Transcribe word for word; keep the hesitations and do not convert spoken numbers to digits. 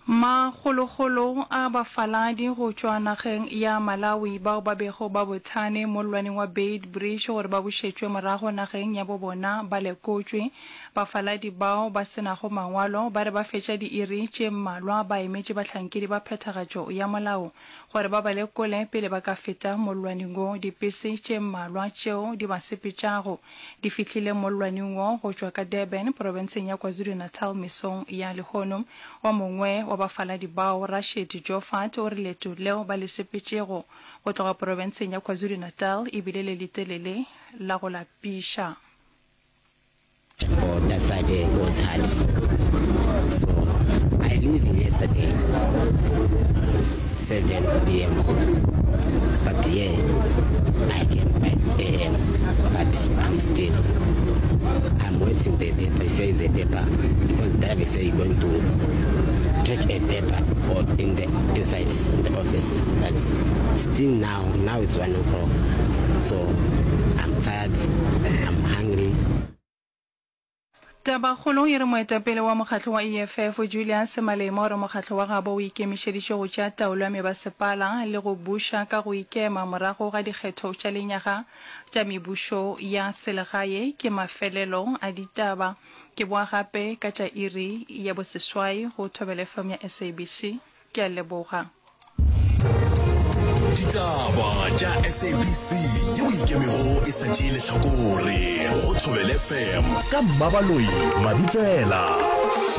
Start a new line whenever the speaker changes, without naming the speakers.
Makgolokgolo a bafaladi go tšwa nageng ya Malawi bao ba bego ba bothane mollwaneng wa Beitbridge gore ba bušetšwe morago nageng ya bo bona ba lekotšwe. Bafaladi bao ba se nago mangwalo ba re ba fetša diiri tše mmalwa ba emetše bahlankedi ba phethagatšo ya molao gore ba ba lekole pele ba ka feta mollwaneng wo. Dipese tše mmalwa tšeo di ba sepetšago di fihlile mollwaneng wo go tšwa ka Durban profenseng ya KwaZulu-Natal mesong ya lehono. O mongwe wa bafaladi bao, Rashid Joffat, o re leeto leo ba le sepetšego go tloga profenseng ya KwaZulu-Natal e bile le letelele la go lapiša.
Oh, that side there was hard. So I leave yesterday seven p m. But yeah, I came five a m. But I'm still, I'm waiting the paper. Say the paper because driver say going to take a paper or in the inside the office. But still now, now it's one o'clock. So I'm tired. I'm hungry.
Tabakgolo e re moetapele wa mokgatlo wa E F F Julius Malema o re mokgatlo wa gabo o ikemišeditše go tšea taolo ya mebasepala le go buša ka go ikema morago ga dikgetho tša lenyaga tša mebušo ya selegae. Ke mafelelo a ditaba, ke boa gape ka tša iri ya boseswai go Thobela F M ya S A B C. Ke a leboga.
Ditaba tša S A B C yeo ikemego e sa tšee lehlakore go Thobela F M ka Mmabaloi Mabitsela.